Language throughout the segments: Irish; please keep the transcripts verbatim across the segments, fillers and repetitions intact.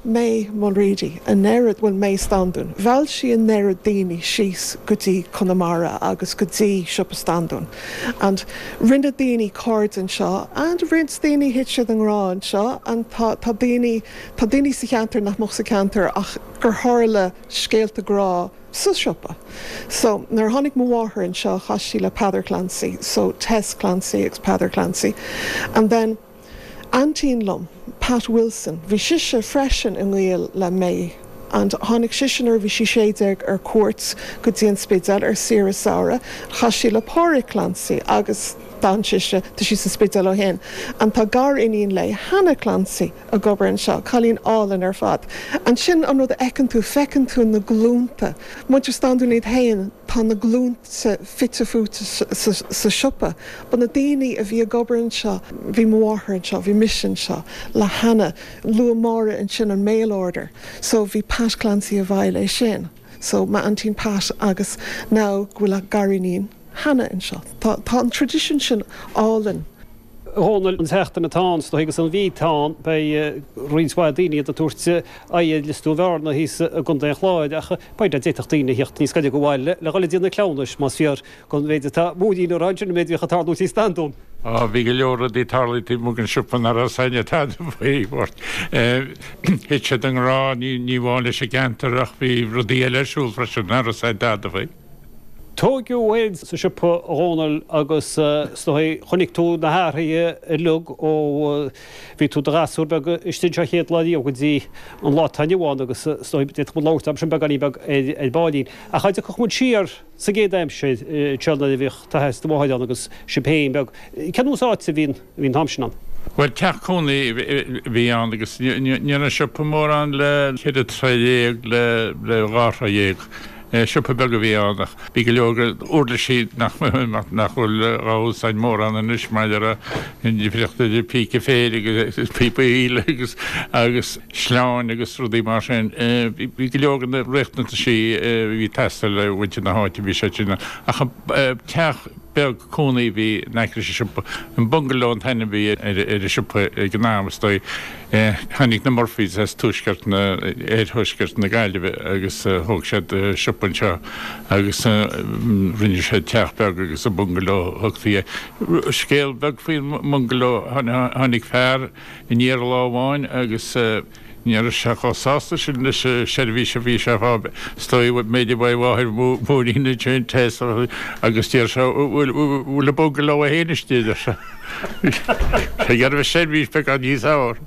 May Mulready an oiread bhuel May Standún. Mheall sí an oiread daoine síos go dtí Conamara agus go dtí siopa Standún. And rinne daoine cairde anseo and roinnt daoine thit siad i ngrá anseo and tá tá daoine tá daoine sa cheantar nach mbeadh sa cheantar ach gur tharla scéalta grá sa siopa. So nuair tháinig mo mháthair anseo chas sí le Peadar Clancy, so Tess Clancy agus Peadar Clancy. And then aintín liom, Pat Wilson, bhí sise freisin i ngaol le May. And tháinig sise nuair bhí sí sé déag ar cuairt go dtí an Spidéal ar saoire samhraidh, chas sí le Pádraig Clancy agus d'fhan sise tá sí sa Spidéal ó shin. An tá gariníon léi Hannah Clancy ag obair anseo, cailín álainn ar fad. An sin an rud a fheiceann tú feiceann tú na glúnta. Muintir Standún iad féin tá na glúnta fite fuaite sa siopa, Ba na daoine a bhí ag obair anseo, bhí mo mháthair anseo, bhí mise anseo le Hannah, luaigh Máire ansin an mail order, so bhí Pat Clancy i bhfeighil é sin. So m'aintín Pat agus now go bhfuil a gariníon Hannah anseo. Tá tá an tradition sin álainn. Dhónaill an tseachtain atá ann agus an mhí atá ann beidh roinnt mhaith daoine ag tabhairt aghaidh ar Lios Dúin Bhearna thíos i gContae an Chláir ach b'fhéidir d'fhéadfadh daoine a theacht níos gaire go bhaile le dhul ag déanamh cleamhnais más fíor don mhéid atá Máirín a rá ansin an méid a bhíodh ag tarlú i Standún. Á bhí go leor rudaí ag tarlú taobh amuigh den siopa nach raibh a fhios tada faoi bhort. Thit siad i ngrá ní ní amháin leis an gceantar ach bhí rudaí eile ar siúl freisin nach raibh a fhios tada faoi. Tógadh thú féin sa siopa a Dhónaill agus is dóigh chonaic tú na hathruithe uilig ó bhí tú i do ghasúr beag istigh anseo chéad lá riamh go dtí an lá atá inniu ann agus is dóigh d'fhéadfadh muid labhairt am sin beagáinín beag ar ar baillín. Ach dá dtiocfadh muid siar sa gcéad aimsir anseo nuair a bhíodh d'athair is do mháthair ann agus sibh féin beag, cén nós áite a bhí a bhí an t-am sin ann? Bhuel teach cónaí a bhí ann agus ní raibh an siopa mórán le ceithre troigh dhéag le le dhá throigh dhéag. Siopa beag a bhí ann ach bhí go leor uirlisí nach nach bhfuil á úsáid mórán anois maidir le an difríocht idir píce féir agus píopa aoile agus agus sleáin agus rudaí mar sin. Bhí go leor de na riachtanaisí a bhí ag teastáil le muintir na háite bhí siad sin ach teach beag cónaí a bhí in aice leis an siopa. An Bungalow an t-ainm a bhí ar an siopa ag an am is dóigh. Tháinig na Murphys as tuaisceart na oirthuaisceart na Gaillimhe agus thóg siad siopa anseo agus rinne siad teach beag agus an bungalow a thugtaí air. Scéal beag faoin mbungalow, tháinig fear aniar lá amháin agus ní raibh sé chomh sásta sin leis an seirbhís a bhí sé a fháil. Is dóigh b'fhéidir uaidh mháthair Mháirín ansin Tess agus deir sé bhfuil bhfuil an bungalow féin istigh deir sé. Sé ag iarraidh seirbhís beagán níos fearr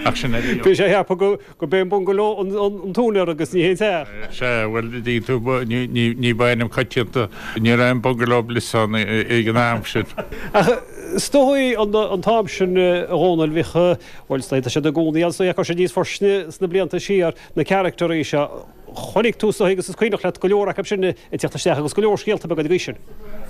ach sin é. Bhí sé ag ceapadh go go b'é an bungalow an an t-úinéir agus ní hé an teach. Sea, bhuel dtuigeann tú ní ní ní ba ainm coitianta ní raibh an bungalow bliss ann ag an am sin. Ach is dóigh an an t-am sin a Dhónaill bhíodh bhuel is dóigh tá siad i gcónaí ann is dóigh acu siad níos forsinne sna blianta siar na caractairí seo. Chonaic tú is dóigh agus is cuimhneach leat go leor acu sin ag teacht isteach agus go leor scéalta beaga ag sin.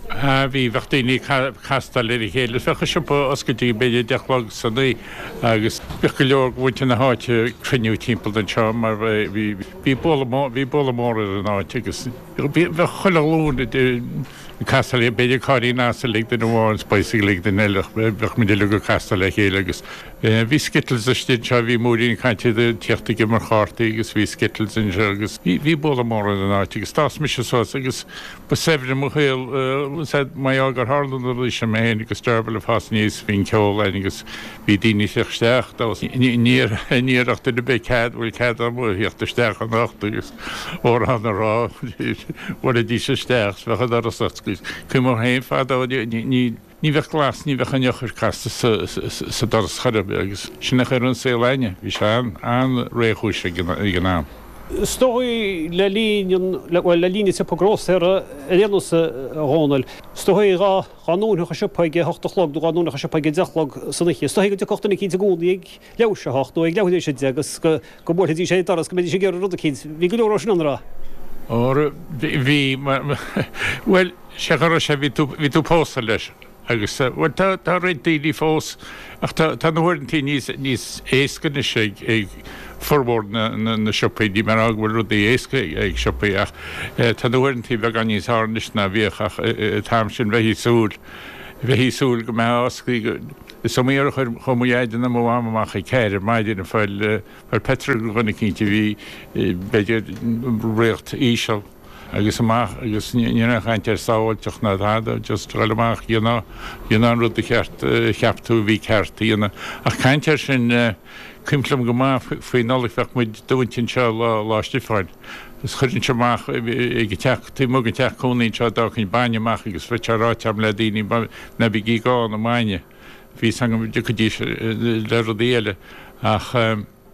Bhí bheadh daoine ag castáil ar a chéile, bheadh an siopa oscailte b'fhéidir deich a chlog san oíche agus bheadh go leor de mhuintir na háite ag cruinniú timpeall anseo mar bhí bhí bualadh mór bhí bualadh mór ar an áit agus bheadh chuile ghlúin ag castáil b'fhéidir cairrín asail ag duine amháin is bicycle ag duine eile bheadh muid uilig ag castáil le chéile agus bhí Skittles istigh anseo bhí Máirín ag caint ag tíocht ag imirt chártaí agus bhí Skittles anseo agus bhí bhí bualadh mór ar an áit agus d'fhás mise suas agus ba saibhre mo shaol mar gheall gur tharla na rudaí sin mé féin agus Dearbhail ag fás aníos bhí an ceol ann agus bhí daoine ag teacht isteach níor níor ach duine ar bith cead bhfuil cead agam a theacht isteach anocht agus amhrán a rá bhuailfidís isteach bheadh an doras oscailte. Cuimhním féin fadó ní ní bheadh glas ní bheadh an eochair casta sa doras chor ar bith agus sin a chuir an saol againne bhí sé an an-réchúis ag an am. Is dóigh le linn an bhuel le linn an tsiopa grósaera ar aon nós a Dhónaill, is dóigh dhá dhá ndúnfadh an siopa ag a hocht a chlog nó dhá ndúnfadh an siopa ag a deich a chlog san oíche. Is dóigh go dtiocfadh duine eicínt i gcónaí ag leathuair théis a hocht nó ag leathuair théis a deich agus go go mbuailfidís ar an doras go mbeidís ag iarraidh rud eicínt. Bhí go leor sin ann a raibh. Ó bhí bhuel sé go raibh sé bhí tú bhí tú pósta leis agus bhuel tá tá roinnt daoine fós ach tá tá na huaireantaí níos níos éasca anois ag ag formhór na na na siopaí ní mar go bhfuil rudaí éasca ag siopaí ach tá na huaireantaí beagán níos fearr anois ná bhíodh ach an t-am sin bheith súil Bheith ag súil go mbeadh oscailte is iomaí uair a chuir chuaigh mo dhaid nó mo mham amach ag ceathair ar maidin ag fáil fáil petrol do dhuine eicínt a bhí b'fhéidir riocht íseal agus amach agus ní raibh aon chaint ar sábháilteacht ná tada just dul amach dhéanamh dhéanamh an rud a cheart a cheap tú a bhí ceart a dhéanamh. Ach caint air sin cuimhin liom go maith faoi Nollaig bheadh muid dúnta anseo lá Lá Stiofáin Is chuirinnse amach ag an teach, taobh amuigh den teach cónaí anseo, d'fhágfainn bainne amach agus bheadh sé ráite agam le daoine, ná bígí ag gá an mbainne. Bhí 'fhios agam go dtiocfaidís le rudaí eile ach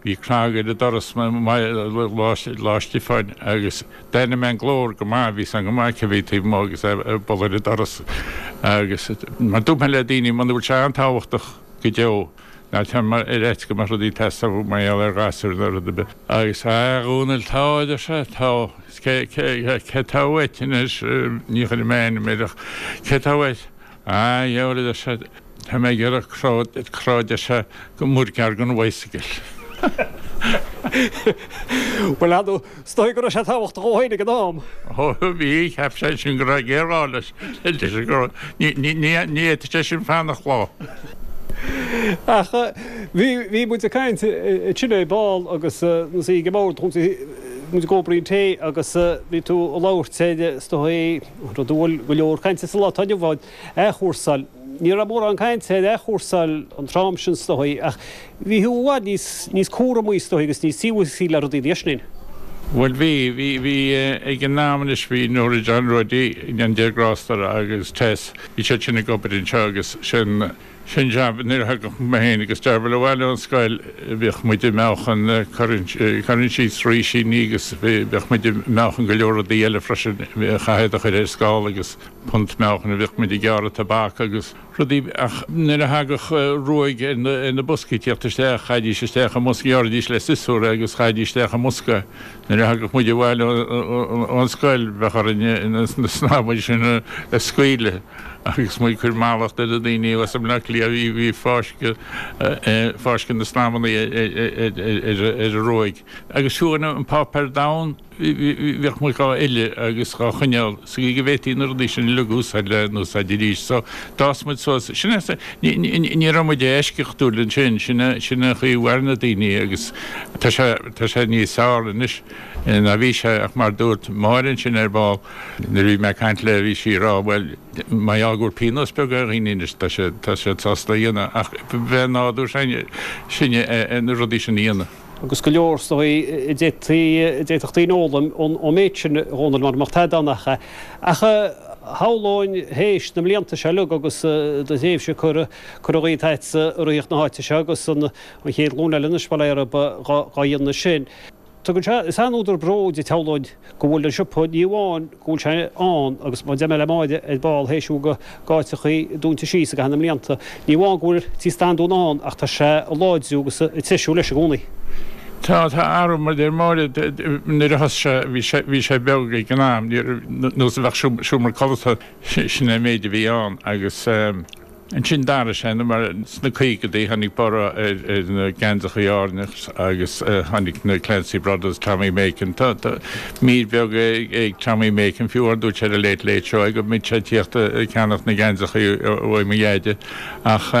bhí cnag ar an doras Lá Stiofáin agus d'aithnigh mé an glór go maith, bhí 'fhios agam go maith cé bhí taobh amuigh agus é ag bualadh ar an doras agus mar dúirt mé le daoine muna bhfuil sé an-tábhachtach go deo, Ná téir ar fhaitíos go mbeadh rudaí ag teastáil uait mar gheall ar ghasúir nó rud ar bith. Agus, a Dhónaill, tá, a deir sé, tá. Is cé, cé, cé tá uait anois, ní chuirfidh mé ainm air ach cé tá uait? A, dheabhail, a deir sé, tá mé ag iarraidh crá, crá, a deir sé, go muirgearr don bhicycle. Bhuel, ar ndóigh, is dóigh go raibh sé tábhachtach dhó féin ag an am. Ó, bhí, cheap sé sin go raibh géarghá leis, leis an gcrá. Ní, ní, ní, ní fhéadfadh sé sin fanacht lá. Ach bhí, bhí muid ag caint ansin ar ball agus nuair a bhí ag an mbord, muid ag obair an tae agus bhí tú ag labhairt ar, is dóigh, rud a bhfuil go leor cainte sa lá atá inniu ann, athchúrsáil. Ní raibh mórán cainte ar athchúrsáil an tráth sin is dóigh ach bhí thú i bhfad níos, níos cúramaí is dóigh agus níos tíosaí le rudaí ná sin. Bhuel bhí, bhí, bhí ag an am anois bhí Nóra John Roddy, go ndéana Dia grásta uirthi agus Tess, bhí siad sin ag obair anseo agus sin, sin jab nuair a thagadh mé féin agus Dearbhail abhaile ón scoil bhíodh muid ag meáchan, cuireann síos rísíní agus bhíodh muid ag meáchan go leor rudaí eile freisin, chaithfeá iad a chur ar scála agus punt meáchain a bhíodh muid ag gearradh tobac agus rudaí ach nuair a thagadh ruaig ar na boscaí tíocht isteach, chaithidís isteach i mbosca, ghearraidís le siosúr é agus chaithidís isteach i mbosca é. Nuair a thagadh muid abhaile ón scoil bheadh orainn na snadhmaid sin a scaoileadh agus muid ag cur mallacht ar na daoine as i mBleá Cliath a bhí ag fáisceadh fáisceadh na snadhmanna ar an ruaig. Agus fiú an páipéar donn, bhíodh muid dhá fhilleadh agus dhá choinneáil sa gcaoi go bhféadfaí na rudaí sin uilig a úsáid le n-úsáid arís. So, d'fhás muid suas. Sin é, ní raibh muid eisceachtúil ansin, sin é, sin é an chaoi a mhair na daoine agus tá sé, tá sé níos fearr anois ná bhí sé ach mar dúirt Máire ansin ar ball nuair a bhí mé ag caint léi bhí sí ag rá bhuel, mar gheall go bhfuil pionós beag ar dhaoine anois tá sé, tá siad sásta a dhéanamh ach bheith nádúr sinne na rudaí sin a dhéanamh. Agus go leor is dóigh a d'fhéadfadh daoine fhoghlaim ón méid sin, a Dhónaill, mura mbeadh tada ann ach é. Ach shamhlóinn théis na mblianta seo uilig agus do thréimhse curtha dhíot agatsa i rith na háite seo agus an chéad ghlúin eile anois, bail ó Dhia orthu, dhá dhéanamh sin. Tugann sé, is an-údar bróid duit shamhlóinn go bhfuil an siopa, ní amháin go bhfuil sé ann agus mar a deir mé le Máire ar ball théis go áiteachaí dúnta síos i gcaitheamh na mblianta, ní amháin go bhfuil Tí Standún ann ach tá sé ag láidriú agus ag treisiú leis i gcónaí. Tá, tá athrú, mar a deir Máire, nuair a thosaigh sé, bhí sé, bhí sé beag ag an am, ní raibh, nós a bheadh seomra codlata, sin é an méid a bhí ann agus. Ansin d'athraigh sé mar sna caogaidí tháinig borradh ar na geansachaí Árann agus tháinig na Clancy Brothers, Tommy Makem. Tá mír bheag ag Tommy Makem fiú amháin dúirt sé ar an Late Late Show go mbíodh sé ag tíocht ag ceannacht na geansachaí uaidh mo dheaide ach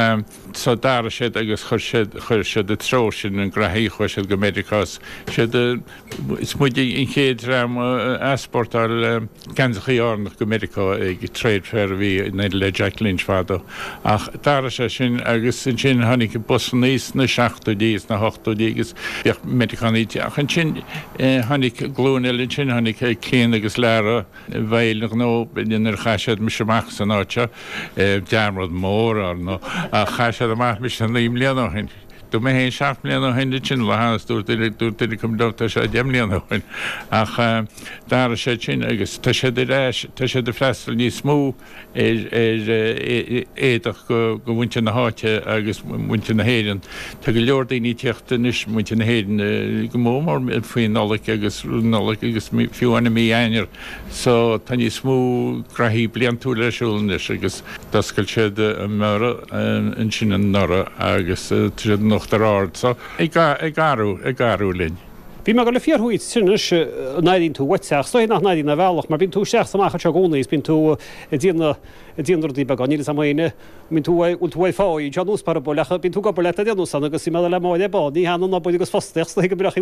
so d'athraigh siad agus chuir siad chuir siad i dtreo sin an graithí chuaigh siad go Meiriceá siad Is muid an chéad dream a easpórtáil geansachaí Árannach go Meiriceá ag Trade Fair a bhí in éindí le Jack Lynch fadó. Ach d'athraigh sé sin agus ansin tháinig busannaí sna seachtóidí is sna hochtóidí agus bhíodh Meiriceánaigh ach ansin tháinig glúin eile ansin, tháinig Clíona agus Lara i bhfeighil an ghnó nuair a chaith siad mise amach as an áit seo, dearmad mór ar ndóigh, ach chaith siad amach mise naoi mbliana ó shin. Dúirt mé féin seacht mbliana ó shin ansin lá is dúirt duine dúirt duine acu liom tá sé deich mbliana ó shin ach d'athraigh siad sin agus tá siad ar ais tá siad ag freastal níos mó ar ar éadach go go mhuintir na háite agus muintir na hÉireann. Tá go leor daoine ag tíocht anois muintir na hÉireann go mór mór faoi Nollaig agus Nollaig agus fiú amháin i mí Eanáir so tá níos mó graithí bliantúil ar siúl anois agus D'oscail siad an Mhuireadh ansin anuraidh agus tá siad in Uachtar Ard so ag athrú, ag athrú linn. Bhí mé ag dul a fiafraí díot anois an airíonn tú uait ach is dóigh nach n-airíonn ar bhealach mar bíonn tú isteach is amach anseo i gcónaí is bíonn tú ag déanamh ag déanamh rudaí beaga níl fhios a'm féin an mbíonn tú bhfuil tú ar pháigh anseo anuas parabóil ach bíonn tú ag obair leat ar aon nós ann agus bhí mé ag dul le Máire Bán ní hionann obair agus fostaíocht is dóigh go mbraitheann sé